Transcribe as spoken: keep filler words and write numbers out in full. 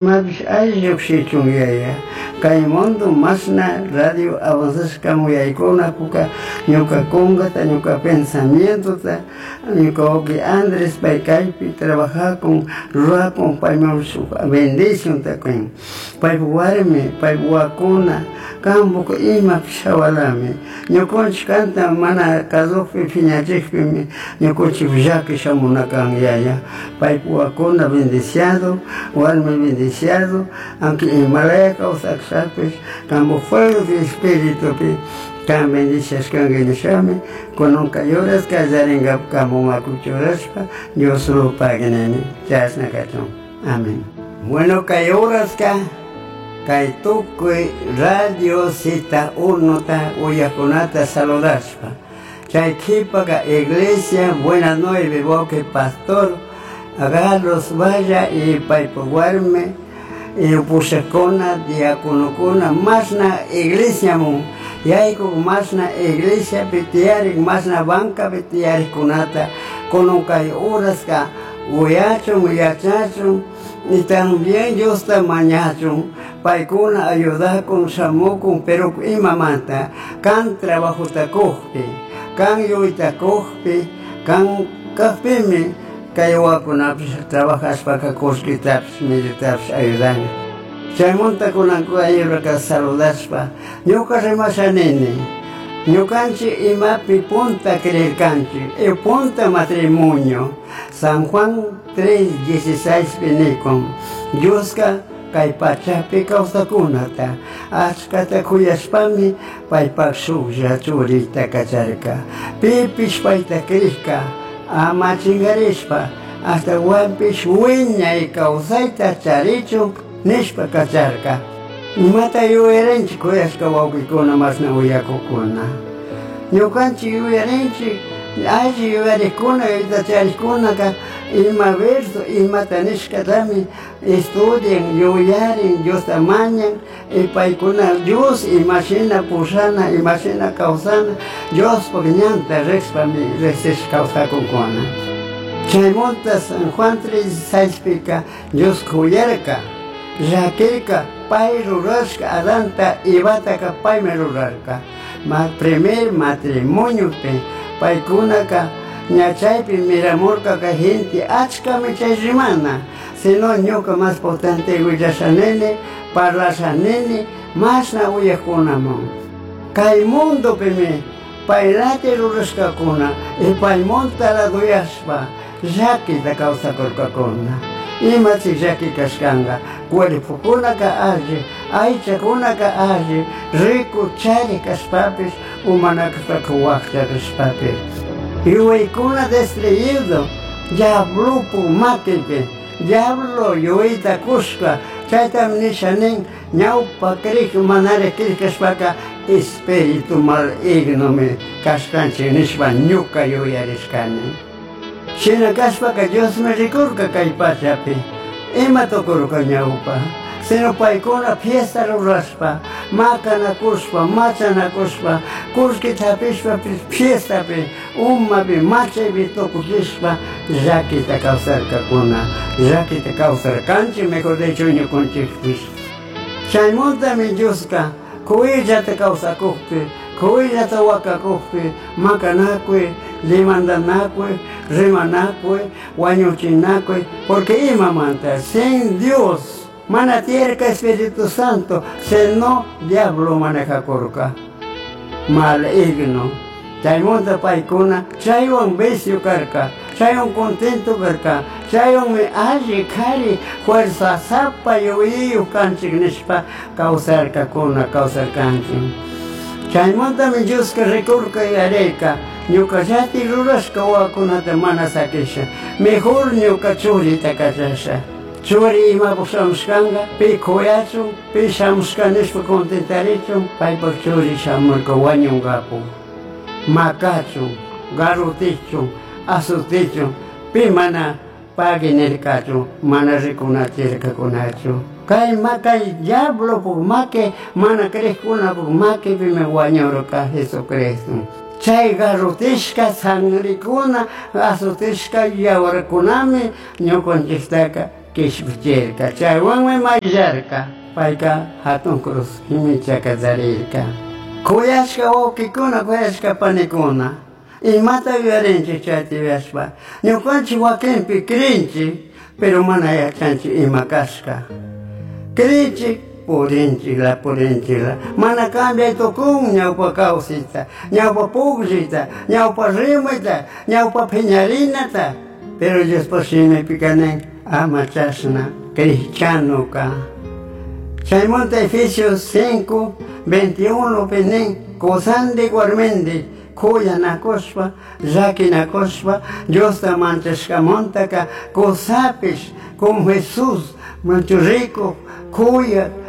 Mapish alli llujshichun yaya. Kay mundo mashna radio avanzashka muyaykunapuka ñuka kunkata, ñuka pensamientota, ñuka wawki Andrés pay kaypi trabajakun, rurakun, payman shuk bendicionta kun. Paypak warmi, paypak wawakuna, kanpuk imapish hawalami. Ñukanchik kanta mana kasukpi piñachikpimi ñukanchik llaki shamuna kan yaya. Paypak wawakuna bendiciado, warmi bendiciado, aunque imalaya kawsakshapis, kanpuk fuego de espiritupi kan bendiciashkanki nishami, kunanka horas kallarinkapak kanpuk makipi churashpa Dios pagui nini, chashna kachun. Amén. Bueno, kay horaska kay tukuy Radio Zeta Unota uyakunata saludashpa. Chay kipaka Iglesia Buena Nueve wawki pastor Carlos Valla y paypak warmi y pushakuna, diaconokuna, mashna iglesiamun yaykuk, mashna iglesiapi tiyarik, mashna bancapi tiyarikkunata kunan kay horaska uyachun, yachachun y también Diosta mañachun, paykuna ayudakun, shamukun, pero imamanta kan trabajota kukpi, kan yuyta kukpi, kan kakpimi kay wawakunapish trabajashpaka kullkitapish, millitapish ayudan. Chaymunta kunan kay saludashpa ñuka rimasha nini, ñukanchik imapi punta creerkanchik, y punta matrimonio, San Juan tres dieciséis pi nikun, Dioska kay pachapi kawsakunata achkata kuyashpami paypak shuklla churita kacharka, pipish payta krishka ama chingarishpa ashtawanpish wiñay kawsayta charichun nishpa kacharka. Imata yuyarinchik kuyashka wawkikuna mashna uyakukuna. Ñukanchik yuyarinchik alli yuyarikkuna yuyayta charikkunaka ima verso imata nishkatami estudian, yuyarin, Diosta mañan y paykuna Dios imashina pushana, imashina kawsana, Diospuk ñanta rishpami riksishpa kawsakunkuna. Chaymunta San Juan tres dieciséis Dios kuyarka, llakirka, pay rurashka Adanta Evataka paymi rurarka. Ma primer matrimoniopi paykunaka ña chaypi miramurka kay gente achkami chay rimana, sino ñuka mas potente willashanini, parlashanini, mashna uyakunamun. Kay mundopimi paylati rurashkakuna y paymunta laduyashpa llakita kawsakurkakuna. Imachik llaki kashkanka, cuerpokunaka alli, aychakunaka alli, rico chari kashpapish, umanakashpaka wakcha kashpapish. Yuyaykuna destruido, diablopu makipi, diablo yuyayta kushka, chaytami nisha nin, ñawpa krik manari krik kashpaka espíritu malignomi kashkanchik nishpa ñuka yuyarishkani. Shina kashpaka Diosmi rikurka kay pachapi, ima tukurka ñawpa, sino paykuna fiesta rurashpa, makanakushpa, machanakushpa, kullkita hapishpa fiestapi, umapi, machaypi tukuchishpa llakita kawsarkakuna, llakita kawsarkanchik, mejor dicho ñukanchikpish. Chaymuntami Dioska kuyllata kawsakukpi, kuyllata wakakukpi, makanakuy, limandanakuy, rimanakuy, wañuchinakuy, porque imamanta sin Dios mana tiyarka Espíritu Santo, sino diablo manejakurka, maligno. Chaymunta paykuna chaywan vicio karka, chaywan contento karka, chaywanmi alli kari fuerza sapa yuyayuq kanchik nishpa kawsarkakuna, kawsarkanchik. Chaymuntami Dioska rikurka yarayka, ñukallati rurashka wawakunata mana sakisha, mejor ñuka churita kachasha. Churi imapuk shamushkanka, pi kuyachun, pi shamushka nishpa contentarichun, paypak churi shamurka wañunkapuk. Makachun, garrotichun, azutichun, pi mana pagui nirkachun, mana rikunachirkakunachu. Kay makay diablopuk maki, mana krikkunapuk makipimi wañurka Jesucristo. Chay garrotishka sangrikuna, azotishka yawarkunami ñukanchiktaka Kishpichirka chaywanmi mayllarka payka hatun cruz himichaka charirka. Kuyashka wawkikuna, kuyashka panikuna, imata yuyarinchik chayta yuyashpa, ñukanchik wakinpi crinchik, pero mana yachanchik ima kashka. Crinchik, purinchikla, purinchikla, mana cambiay tukun ñawpa kawsayta, ñawpa pukllayta, ñawpa rimayta, ñawpa phiñarinata, pero Diospaj shimipika nin ama chashna cristianoka. Chaymanta Efesios cinco, veintiuno pi nin, kusandik warmindik kuyanakushpa, llakinakushpa, Diosta manchashkamantaka kusapish con Jesús manchu rikuj, kuyak.